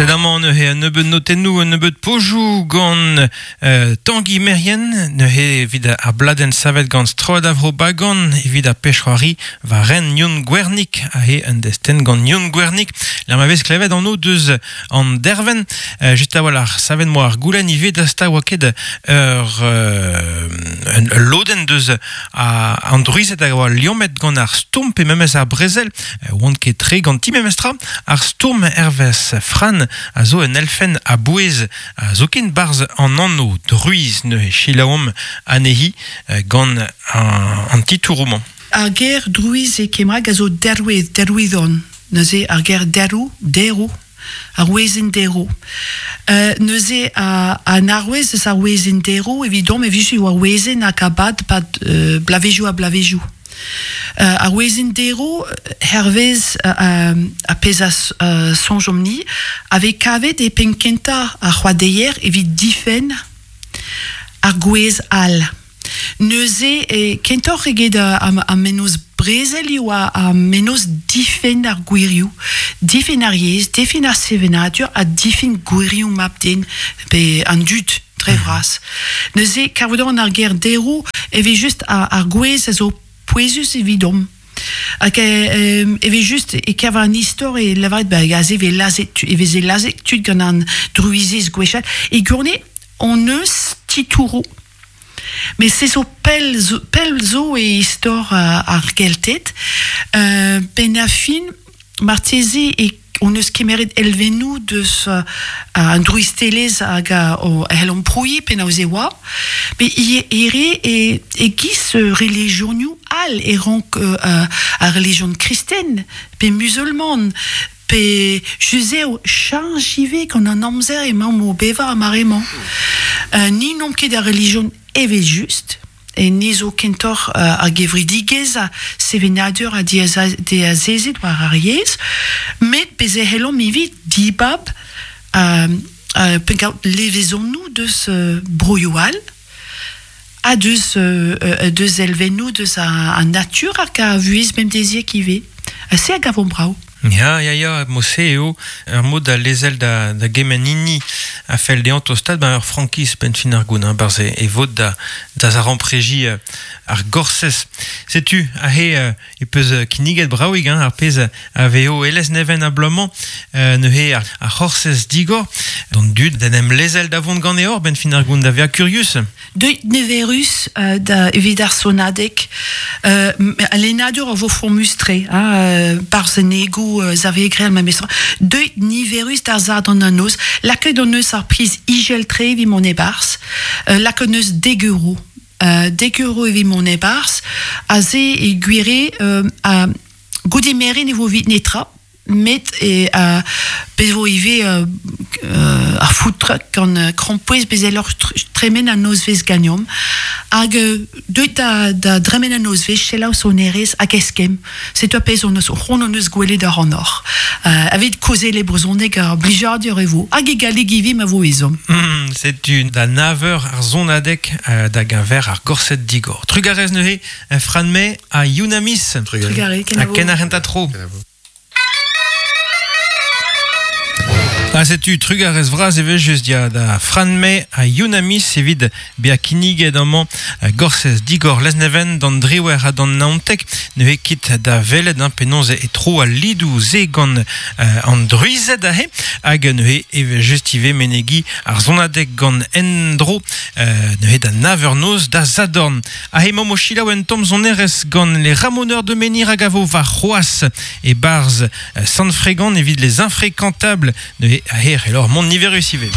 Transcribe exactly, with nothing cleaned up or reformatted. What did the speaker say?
Sed amañ neuze un nebeud notennoù, un nebeud pojoù gant euh, Tangi Merien, neuze evit ar bladenn savet gant strollad Avro Bagan, evit ar pech'hoari war ren Youn Gwernig, ahe un destenn gant Youn Gwernig. La ma vez klevet an o deus an derven, euh, just a-walc'h savet moa ar goulenn ivez da sta oa ket ur euh, un, ul lodenn deus a, an druized a oa liammet gant ar stourm pe memes ar brezel, euh, oant ket tre ganti memestra, ar stourm hervez Fran a zo un elfen a bouez a zo ken barz an anno druiz neuze chilaom anehi gant an, an titouroman. Ar ger druiz e kemrag a zo derwez, derwidon. Neuze ar ger derou, derou, ar wezenn derou. Euh, neuze a, an arwez eus ar wezenn derou, evidom e vije oa wezenn hag abad pad euh, blavezioù ha blavezioù. Euh, ar wezenn derou, hervez euh, a pezh a euh, soñjomp-ni, avait kavet e penn kentañ ar c'hoadeier evit difenn ar gwez all. Neuze e kentoc'h eget a, a, a menoz brezel eo a, a menoz difenn ar gwirioù, difenn ar yezh, difenn ar sevenadur ha difenn gwirioù mab-den pe an dud dre vras. Neuze, kavout ar ger derou e vez just ar, ar gwez a zo pouezus evidomp. Hag e, e vez just e kever an istor e lavaret ba aze vez lazet e veze lazet tud gant an druizez gwechall. E gourne, on eus titouroù. Mais se zo pell zo, pell zo e istor uh, ar Gelted. Euh, ben a fin, marteze e on eus kemeret elvennoù deus uh, an druistelezh hag a o hell on prouiñ penaos e oa. Met i ere e, e giz religionioù all e rank uh, ar religion kristen pe musulman pe juzev chanj ivez gant an amzer emañ o bevañ ar mare-mañ. Uh, ni n'omp ket ar religion evel just, e ni zo kentoc'h uh, ar gevredigezh a sevenadur a diazezet war ar yezh, met bez e c'hellomp ivez dibab uh, uh, penkaout levezonoù deus uh, broioù all, ha deus, uh, deus elvennoù deus a, a natur hag a vuhez bemdeziek ivez. Ha se a gavomp brav. Ya, ya, ya, mo-se eo, ur mod da lezel da, da gement hini a fell dezhañ tostaat ba ur frankiz benn fin ar goun, hein, barz e, e vod da, da zarampreji euh, ar gorsez. Setu, ahe euh, e peus kinniget braouig, hein, ar pezh a vezo elez neven a bloaz-mañ, euh, neuze ar, ar c'horsez digor, d'an dud d'en em lezel da vont gant eor benn fin ar goun da vezañ kurius. Deuit neverus euh, da evit ar sonadeg, euh, lennadur a vo fromus-tre, hein, euh, barz en ego Xavier Grel ma mestra. Deuit niverus d'ar zad an noz, lakaet hon eus ar priz izel-tre evit mont e-barzh, euh, lakaet hon eus dek euro. Euh, dek euro evit mont e-barzh, aze e gwire euh, a goude merenn e vo evit netra, met e uh, bez vo ivez euh, euh, ar food truck gant uh, krampouezh bez elloc'h tremen an nozvezh ganeomp. Hag euh, deuit da, da dremen an nozvezh selaou sonerezh hag eskemm. Setu ar pezh hon eus c'hoant hon eus gwelet ar an hor. Euh, evit kaozeal e brezhoneg ar blijadur e vo. Hag e galleg ivez ma vo ezhomm. Mm, setu da nav eur ar sonadeg euh, da geñver ar gorsedd digor. Trugarez neuze, Fran May ha Youn Amis. Trugarez. Ha Kenavo. ken ar renta tro. Kenavo. Ha setu trugarez vras evel just dia da Fran May ha Youn Amis evit bezañ kinniget amañ gorsez digor Lesneven d'an driwec'h ha d'an naontek neuze kit da welet hein, penaos e tro al lidoù se gant euh, an druized aze hag neuze evel just ivez menegi ar sonadeg gant endro euh, neuze da nav eur noz da Zadorn. Aze emaomp o selaou un tamm sonerezh gant les Ramoneurs de Menhir hag a vo war c'hoazh e barz Sant-Fregant evit les infréquentables neuze aher elor mont niverus ivez.